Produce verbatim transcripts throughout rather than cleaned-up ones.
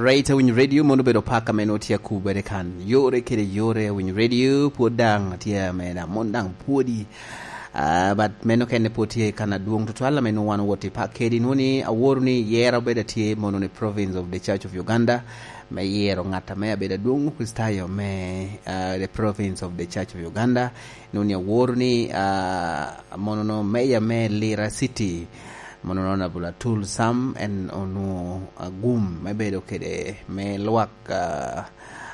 Right, Awiny Radio, mono obedo pak ame nwoŋo tye akubere kan. Yore kede yore, Awiny Radio, pwod daŋ tye ame daŋ, mon daŋ pwodi. Ah, but meno kene pwod tye kan adwoŋ tutwal ame nwoŋo wan owot i pak kedi. Nwoŋo ni aworo ni yero obedo atye mono ni Province of the Church of Uganda, me yero ŋat ame abedo adwoŋ Kricitayo me, ah, the Province of the Church of Uganda. Nwoŋo ni aworo ni, ah, mono no meya me Lira City, mono no Honorable Atul Sam, en onwoŋo agum me bedo kede me lwak, ah,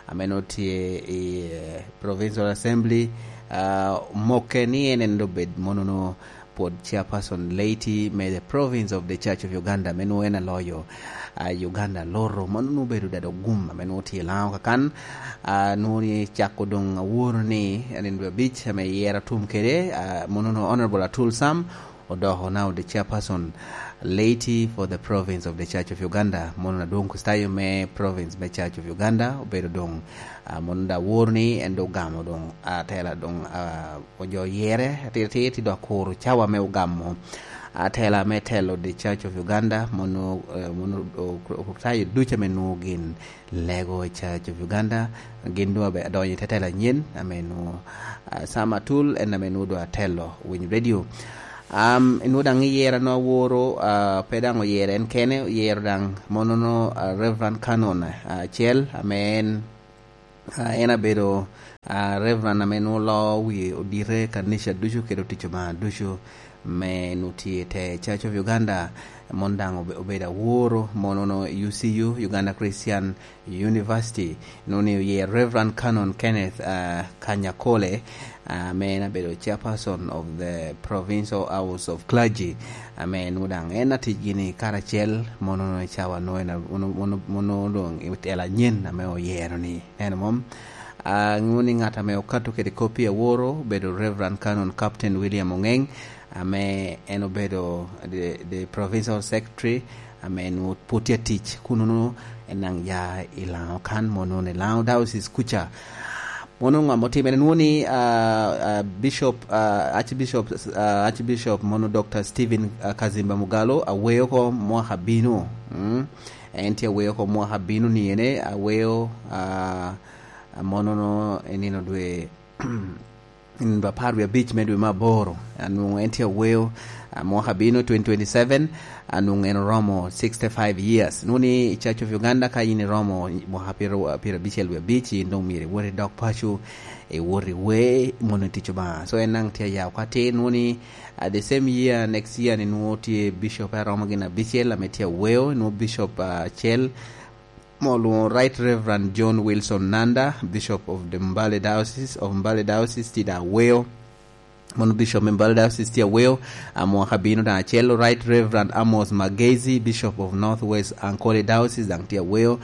ame nwoŋo tye i, eh, Provincial Assembly, ah, mokke ni en en obed mono no pwod chairperson laity me the Province of the Church of Uganda, ame nwoŋo en aloyo, ah, Uganda Loro, mono nwoŋo obedo dado gum ame nwoŋo tye i Laŋo kakan. Ah, nwoŋo ni cako doŋ aworo ni nino dwe abic ame yero atum kede, ah, mono no Honorable Atul Sam, odoko now the chairperson laity for the Province of the Church of Uganda, mono adwoŋ Kricitayo me Province me Church of Uganda, obedo doŋ, ah, mono da aworo ni en doŋ ogamo doŋ, ah, atela doŋ, ah, ojo yere atir atir, ti dok kuro cawa me ogamo atela me telo the Church of Uganda, mono, eh, mono o-, o-, Okricitayo ducu ame nwoŋo gin lego i Church of Uganda, gin doŋ abe-, adonyo i te tela anyen, ame nwoŋo, ah, Sam Atul, en ame nwoŋo doŋ atelo Winy Radio. Am, nwoŋo daŋ iyero no aworo, ah, pe daŋ oyero en kene, oyero daŋ mono no, ah, Reverend Canon, ah, acel, ame en, ah, en abedo, ah, Reverend ame nwoŋo loo wi odite kanica ducu kede otic Obaŋa ducu, me nwoŋo tye i te Church of Uganda, mon daŋ obe-, obedo aworo, mono no U C U, Uganda Christian University, nwoŋo ni oye Reverend Canon Kenneth, ah, Kanyakole, ah, ame en abedo chairperson of the Provincial House of Clergy, ame nwoŋo daŋ en atic gini karacel, mono no i cawa nwoŋo en a-, mono, mono, mono doŋ i tela anyen ame oyero ni. Neno mom? Ah, nwoŋo ni ŋat ame okato kede kopi aworo obedo Reverend Canon Captain William Ongeng, ame en obedo the, the Provincial Secretary, ame nwoŋo pwod tye atic, kun nwoŋo en daŋ ya i Laŋo kan, mono nwoŋo i Laŋo Diocese kuca. Mono ŋo ame otimere? Nwoŋo ni, ah, ah, Bishop, ah, Archbishop, ah, Archbishop mono Doctor Stephen, ah, Kazimba Mugalu aweyo oko mwaka bino. Mm. En tye aweyo oko mwaka bino ni ene, aweyo, ah, mono no i nino dwe nino apar wie abic me dwe me aboro, anwoŋo en tye aweyo, ah, mwaka bino twenty twenty-seven, anwoŋo en oromo sixty-five years. Nwoŋo ni i Church of Uganda ka in iromo mwaka pyero, pyero abicel wie abic, in doŋ myero iwot idok paco, iwot iwe, mono i tic Obaŋa. So en daŋ tye aya oko atir, nwoŋo ni, ah, the same year, next year ni nwoŋo tye bishop aromo gin abicel ame tye aweyo, nwoŋo bishop, ah, acel, mo olwoŋo Right Reverend John Wilson Nanda, Bishop of the Mbale Diocese, of Mbale Diocese, tye daŋ aweyo. Mono Bishop me Mbale Diocese tye aweyo, a mwaka bino daŋ acel, Right Reverend Amos Magezi, Bishop of Northwest Ankole Diocese, daŋ tye aweyo.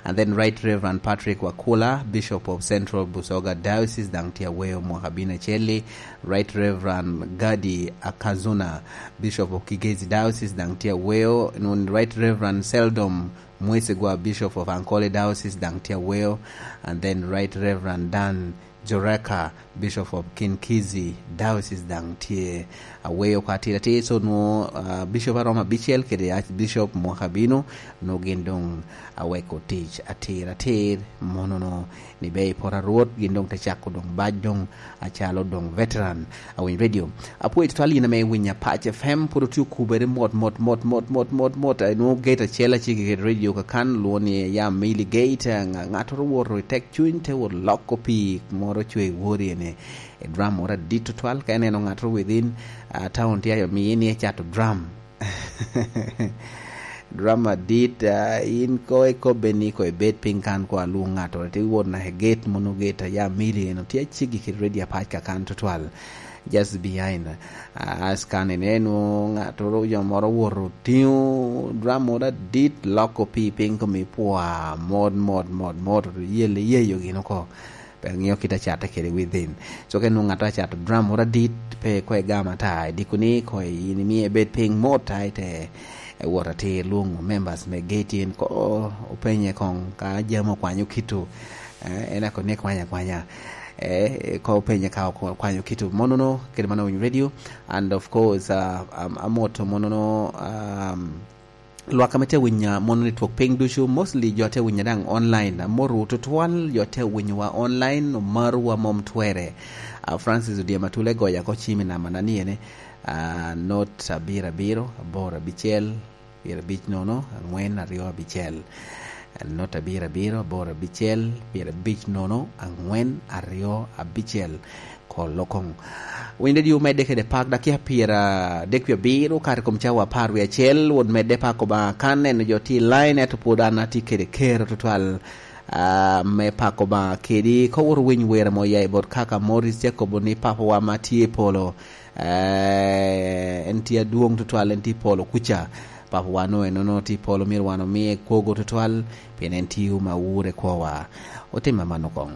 And then Right Reverend Patrick Wakula, Bishop of Central Busoga Diocese, daŋ tye aweyo mwaka bino acel-li. Right Reverend Gadi Akazuna, Bishop of Kigezi Diocese, daŋ tye aweyo. Nun Right Reverend Seldom Mwesigwa, Bishop of Ankole Diocese, daŋ tye aweyo, and then Right Reverend Dan Joreka, Bishop of Kinkizi Diocese, daŋ tye aweyo oko atir atir. So nwoŋo, ah, Bishop aromo abicel kede Archbishop mwaka bino, nwoŋo gin doŋ aweko tic atir atir, mono no ni be i poto a Rwot gin doŋ te cako doŋ bac doŋ acalo doŋ veteran. Awiny Radio. Apwoyo tutwal in ame iwinyo Apac F M, pwod otye okubere mot, mot, mot, mot, mot, mot, mot. Eh, nwoŋo gate acel acel i radio kakan, lwongo ni Yam Mili Gate. Eh, ŋa-, ŋattoro woto i tek cuny, te wot loko pii moro cwe i wori ene. Eh, drum moro adit tutwal, ka ineno ŋattoro within, ah, town tye ayo miye ni ecato drum. Drum adit, ah, in ko ikobbe ni ko ibed piny kan ko alwong ŋattoro, te wot naka i gate, mono gate a Yam Mili eno tye aceggi kede radio Apac kakan tutwal. Just behind, ah, as kan ineno ŋattoro jo moro owoto otingo drum moro adit, loko pii piny komi pwa, mot, mot, mot, mot, yel iyeyo gin oko. Pe ŋeo kit acatte kede within. So ka inwoŋo ŋat acato drum moro adit, pe ko igam ata, idiko ni ko in imie ebed piny mot, a ite, eh, wot atir lwoŋo members me gate in ko openye koŋ ka jami okwanyo kito. Eh, en ako ni kwanya kwanya. Eh, ko openye ka okwanyo kito. Mono no, kede mano Winy Radio. And of course, uh, um, amoto mono no, um, Lwak ame tye winyo mono ni twok piny ducu, mostly jo tye winyo daŋ online. Amoro tutwal jo tye winyowa online, omarowa mom twere. Ah, Francis Odyema Tule goya ko cimi nama na ni ene, ah, not abiro abiro, aboro abicel, pyereabic nono, angwen aryo abicel. Not abiro abiro, aboro abicel, pyereabic nono, angwen aryo abicel. Kolo koŋ. Winy Radio medde kede pak dakia pyera dek pi abiro, kare kom cawa apar wi acel, wot medde pako ba kan neno jo ti line, eto pwod an ati kede kero tutwal, ah, me pako ba kedi. Ka wot winy wera mo ya i bot kaka Morris tye kobo ni, "Papawa ma tye i polo, eh, en tye adwoŋ tutwal, en tye i polo kuca. Papawa no enono tye i polo, myero wan omie kwogo tutwal, pien en tye ma wure kwowa." Otim aman okoŋ.